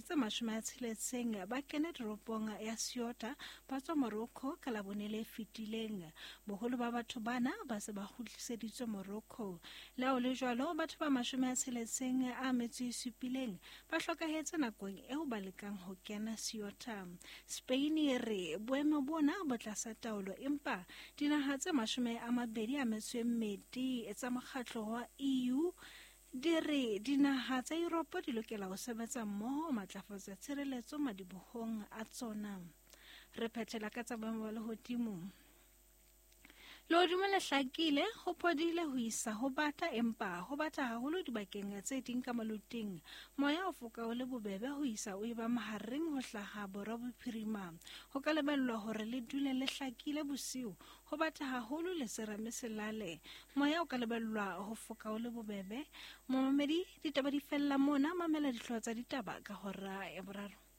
tse 60 ba kene toropong ya Ceuta ba tswa Morocco ka Labone le fetileng. Boholo ba batho bana ba se ba kgutliseditswe Morocco. Le ha ho le jwalo, batho ba 67 ba hlokahetse nakong eo ba lekang ho kena Ceuta. Spain e re boemo bona bo tlasa taolo, empa dinaha tse 22 tsa mokgatlo wa EU di re dinaha tsa Europe di lokela ho sebetsa mmoho ho matlafatsa tshireletso madibohong a tsona. Re phethela ka tsa boemo ba lehodimo. Lehodimo le hlakile, ho phodile ho isa ho bata, empa ho bata haholo dibakeng tse ding ka maluting. Moya o foka o le bobebe ho isa o eba mahareng ho hlaha borwa bophirima. Ho ka lebellwa hore le dule le hlakile bosiu, ho bata haholo le serame selale. Moya o ka lebellwa ho foka o le bobebe. Momamedi, ditaba di fella mona, mamela dihlooho tsa ditaba ka hora ya boraro.